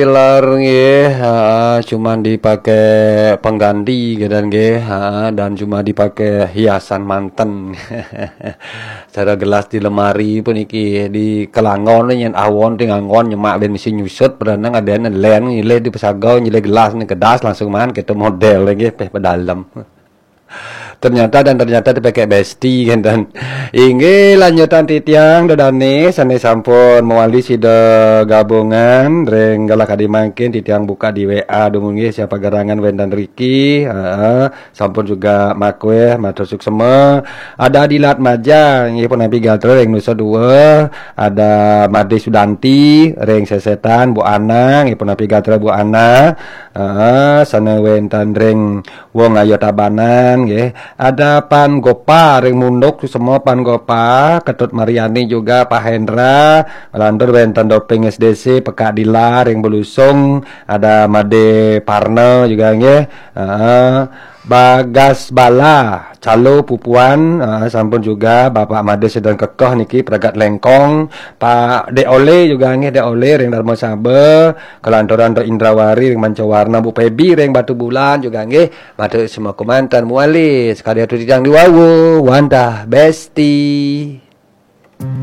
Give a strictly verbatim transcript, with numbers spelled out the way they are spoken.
Pilar nggih, ha, cuman dipakai pengganti gitu nggih, ha, dan cuma dipakai hiasan manten. Cara gelas di lemari pun iki di kelangon nyen awon ting angon nyemak ben mesti nyusut, padahal ngadene len nyilih di pesagau nyilih gelas ni kedas langsung mangan kita model nggih peh pedalem. Ternyata dan ternyata dipakai besti kan dan inggih lanjutan titiang dodane sane sampun mewali sida gabungan ring galah kadi mangkin titiang buka di W A dungu nggih siapa gerangan wenten riki, heeh, sampun juga makweh matur suksema. Ada Dilat Maja nggih punapi gatra ring Nusa Dua, ada Made Sudanti ring Sesetan, Bu Ana nggih punapi gatra Bu Ana, heeh, sane wenten ring Wong Ayo Tabanan nggih. Ada Pan Gopa ring Munduk semua Pan Gopa, Ketut Mariani juga Pak Hendra, lantur wenten Doping S D C Pekak Dila ring Belusung, ada Made Parna juga nggih. Heeh. Bagas Bala, Calo Pupuan, heeh, sampun juga Bapak Made sedang kekeh niki Pragat Lengkong, Pak Dek Ole juga nggih Dek Ole ring Dharma Saba, kelanturan Dek Indrawari ring Mancawarna, Bu Pebi ring Batu Bulan juga nggih. Matur semua komandan muali sekali atu titiang di wau wantah besti.